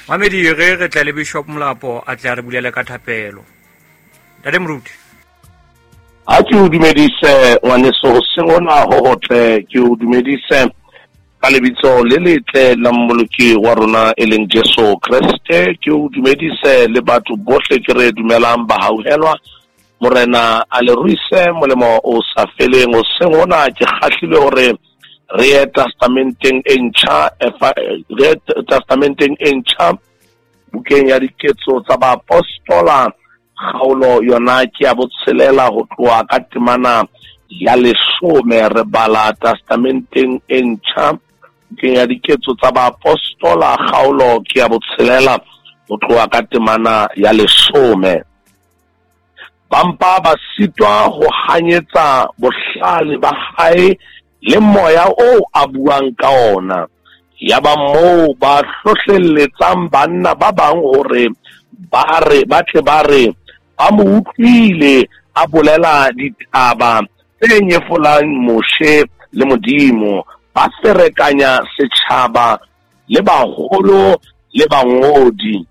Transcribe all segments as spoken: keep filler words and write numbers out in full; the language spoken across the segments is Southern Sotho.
Mamedi re re tle le Bishop Molapo a tle a re bulele ka thapelo. Ntate Moruti. Ha ke o dumedise ngwaneso hoseng hona ho hotle, ke o dumedise ka lebitso le letle la Mmoloki wa rona e leng Jesu Kreste. Ke o dumedise le batho bohle ke re dumelang ba hauhelwa. Morena a le ruise molemo o sa feleng. Hoseng hona ke kgahlilwe hore re ye testamenteng e ntjha, re ye testamenteng e ntjha bukeng ya Diketso tsa Baapostola, kgaolo yona ke ya botshelela ho tloha ka temana ya leshome. Re bala testamenteng e ntjha bukeng ya Diketso tsa Baapostola, kgaolo ke ya botshelela ho tloha ka temana ya leshome. Ba mpa ba sitwa ho hanyetsa bohlale ba hae le moya oo a buang ka ona. Yaba moo ba hlohlelletsang banna ba bang hore ba re ba tle ba re ba mo utlwile a bolela ditaba tse nyefolang Moshe le Modimo. Ba ferekanya setjhaba le baholo le bangodi.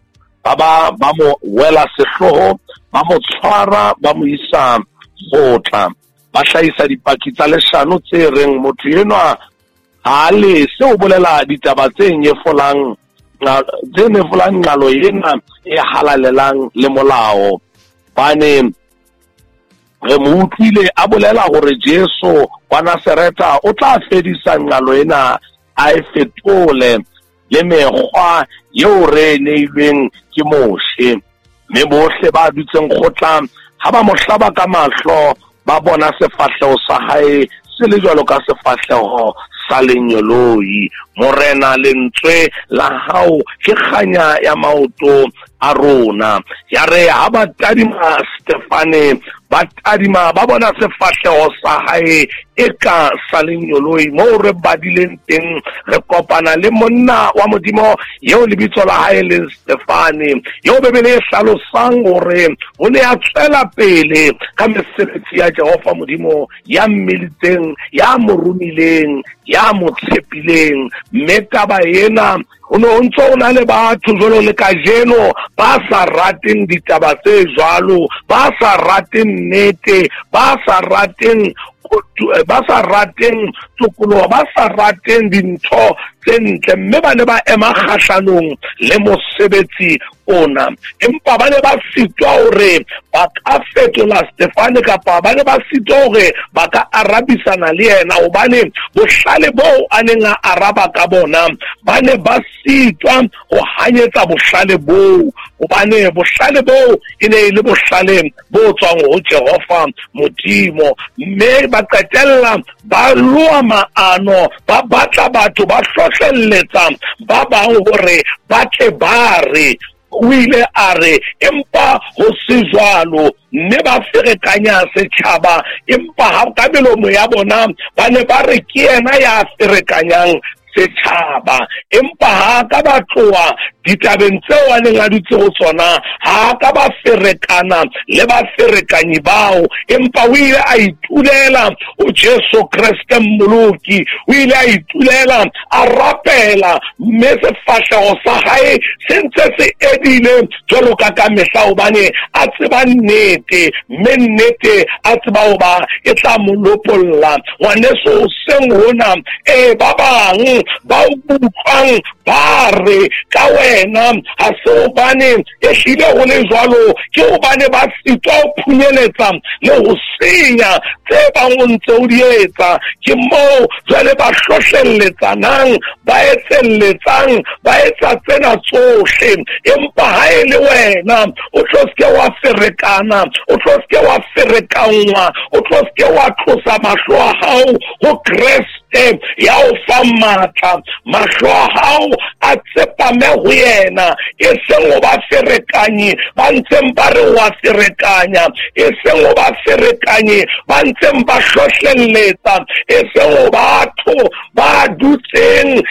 Ba ba ba mo wela sehloho, ba mo tshwara, ba mo isa kgotla. Ba hlahisa dipaki tsa leshano tse reng motho enwa ha lese ho bolela ditaba tse nyefolang tse nyefolang nqalo ena e halalelang le molao. Bane re mo utlwile a bolela hore Jesu wa Nasaretha o tla fedisa nqalo ena, a e fetole le mekgwa eo re neilweng ke Moshe. Mme bohle ba dutseng kgotla ha ba mo hlaba ka mahlo, ba bona sefahleho sa hae se le jwalo ka sefahleho sa lenyoloi. Morena, lentswe la hao ke kganya ya maoto a rona. Ya re ha ba tadima Stefane, ba tadima ba bona sefahleho sa hae e ka sa lenyoloi. Moo re badileng teng, re kopana le monna wa Modimo eo lebitso la hae leng Stefane, eo Bibele e hlalosang hore o ne a tswela pele ka mesebetsi ya Jehova Modimo ya mmilitseng, ya mo romileng, ya mo tshepileng. Mme taba ena ho no ntso o na le batho jwalo le kajeno ba sa rateng ditaba tse jwalo, ba sa rateng nnete, ba sa rateng ba sa rateng tokoloho, ba sa rateng dintho tse ntle, mme ba ne ba ema kgahlanong le mosebetsi ona. Empa ba ne ba sitwa hore ba ka fetola Stefane, kapa ba ne ba sitwa hore ba ka arabisana le yena, hobane bohlale boo a neng a araba ka bona ba ne ba sitwa ho hanyetsa bohlale boo, hobane bohlale boo e ne e le bohlale bo tswang ho Jehova Modimo. Mme ba qetella ba loa maano, ba batla batho, ba hlohlelletsa ba bang hore ba tle ba re o ile a re, empa ho se jwalo. Mme ba ferekanya setjhaba, empa ha ka melomo ya bona ba ne ba re ke yena ya ferekanyang setjhaba. Empa ha ka ba tloha ditabeng tseo a neng a dutse ho tsona, ha ka ba ferekana le ba ferekanyi bao, empa o ile a itulela ho Jesu Kreste Mmoloki. O ile a itulela, a rapela, mme sefahleho sa hae se ntse se edile jwalo ka ka mehla, hobane a tseba nnete, mme nnete a tseba hoba e tla mo lopolla. Ngwaneso, hoseng hona e ba bang ba utlwang ba re ka wena ha se hobane e hlile ho le jwalo, ke hobane ba sitwa ho phunyeletsa le ho senya tse bang o ntse o di etsa. Ke moo jwale ba hlohlelletsanang, ba etselletsang, ba etsa tsena tsohle. Empa ha e le wena o tlo seke wa ferekana, o tlo seke wa ferekanngwa, o tlo seke wa tlosa mahlo a hao ho Kreste ya o fang matla. Mahlo a hao a tsepame ho yena, e seng ho ba ferekanyi ba ntseng ba re wa ferekanya, e seng ho ba ferekanyi ba ntseng ba hlohlelletsa, e seng ho batho ba dutseng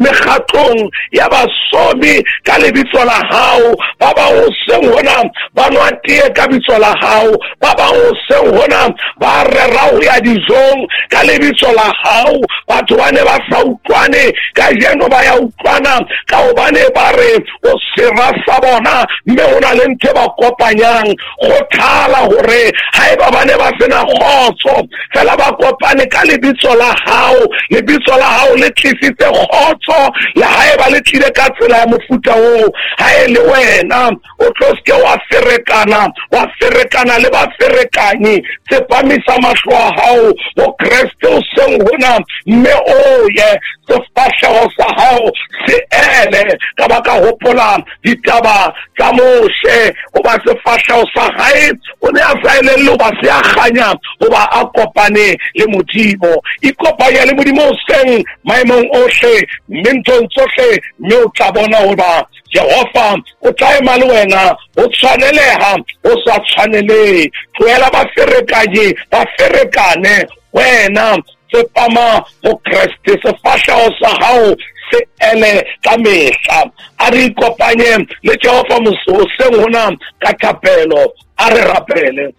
mekgatlong ya basomi ka lebitso la hao. Ba bang hoseng hona ba nwa tee ka bitso la hao, ba bang hoseng hona ba rera ho ya dijong ka lebitso la hao. hao. Batho ba ne ba sa utlwane, kajeno ba ya utlwana ka hobane ba re o sera sa bona, mme ho na le ntho e ba kopanyang. Kgothala hore haeba ba ne ba sena kgotso, fela ba kopane ka lebitso la hao. Lebitso la hao le tlisitse kgotso, le haeba le tlile ka tsela ya mofuta oo. Ha e le wena o tlo seke wa ferekana, wa ferekana le ba ferekanyi. Tsepamisa mahlo a hao ho Kreste o seng hona, mme o ye sefahleho sa hao se ele. Ka ba ka hopola ditaba tsa Moshe, hoba sefahleho sa hae o ne a sa elellwe hoba se a kganya, hoba a kopane le Modimo. Ikopanya le Modimo hoseng maemong ohle, mme nthong tsohle, mme o tla bona hoba Jehova o tla ema le wena, o tshwaneleha, o sa tshwanelehe. Tlohela ba ferekanye, ba ferekane, wena tsepama ho Kreste, sefahleho sa hao se ele ka mehla. A re ikopanye le Jehova hoseng hona ka thapelo. A re rapele.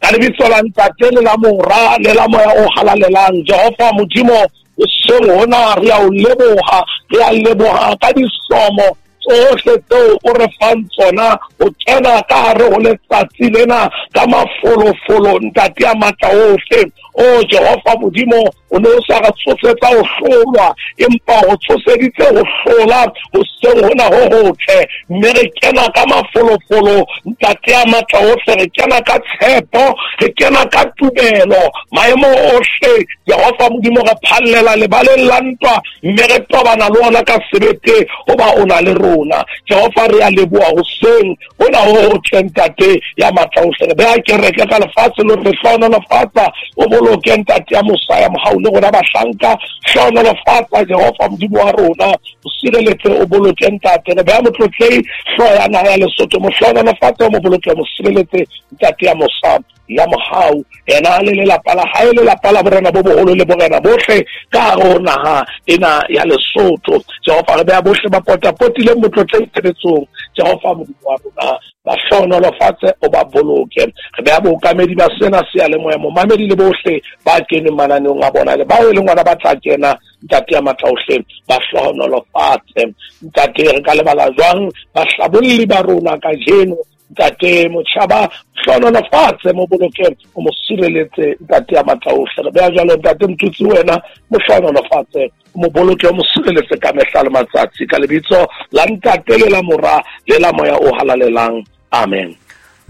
Ka lebitso la Ntate le la Mora le la Moya o Halalelang, Jehova Modimo, hoseng hona re a o leboha, re a leboha ka disomo tsohle tseo o re fang tsona ho kena ka hare ho letsatsi lena ka mafolofolo, Ntate ya matla ohle. O Jehova Modimo, o ne o sa re tsosetsa ho hlolwa, empa o tsoseditse ho hlola hoseng hona ho hotle. Mme re kena ka mafolofolo, Ntate ya matla ohle, re kena ka tshepo, re kena ka tumelo. Maemo ohle, Jehova Modimo, re phallela lebaleng la ntwa, mme re tobana le ona ka sebete, hoba o na le rona. Jehova, re a leboha hoseng hona ho hotle, Ntate ya matla ohle. Re beha kereke ka lefatshe lo re hlohonolofatsa, o boloke Ntate ya mosa ya mohau le rona bahlanka. Hlohonolofatsa Jehova Modimo wa rona, o sireletse, o boloke Ntate. Re beha motlotlei hlooho ya naha ya Lesotho, mo hlohonolofatse, o mo boloke, mo sireletse Ntate ya mosa ya mohau, yena le lelapa la hae, lelapa la borena bo boholo le borena bohle ka hare ho naha ena ya Lesotho. Jehova, re beha bohle ba potapotileng motlotlei tshebetsong. Jehova Modimo wa rona, ba hlohonolofatse, o ba boloke. Re beha bookamedi ba sena seyalemoya, momamedi le bohle ba keneng mananeong a bona le bao e leng ona ba tla kena, Ntate ya matla ohle, ba hlohonolofatse. Ntate, re ka lebala jwang bahlabolli ba rona kajeno? Ntate Motjhaba, hlohonolofatse, mo boloke, o mo sireletse, Ntate ya matla ohle. Re beha jwalo Ntate Motutsi, wena mo hlohonolofatse, o mo boloke, o mo sireletse ka mehla le matsatsi, ka lebitso la Ntate le la Mora le la Moya o Halalelang. Amen.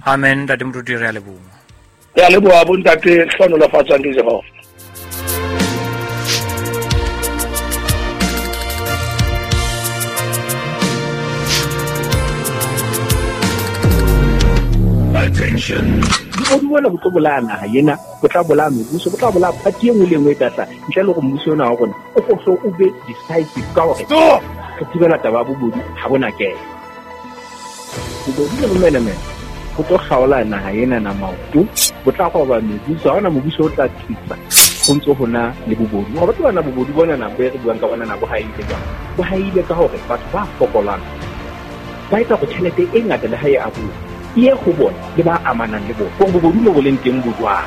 Amen. Ntate Moruti, re a leboha. Re a leboha bo Ntate, hlohonolofatswang ke Jehova. Attention. Bobodu bona bo tlo bolaya naha ena, bo tla bolaya mebuso, bo tla bolaya party e nngwe le e nngwe e tla tla. Ntle le hore mmuso ona wa rona o hlo o be decisive ka hore re thibela taba ya bobodu ha bona kena. Bobodu le bomenemene bo tlo kgaola naha ena na maoto, bo tla roba mebuso, ha hona mobuso o tla thusa ho ntso hona le bobodu. Hore batho bana bobodu bona na bo re buang ka bona na bo haile jwang? Bo haile ka hore batho ba fokolang ba etsa hore tjhelete e ngata le ha e abuwa e ye ho bona le ba amanang le bona. Hore bobodu mo bo leng teng bo jwang.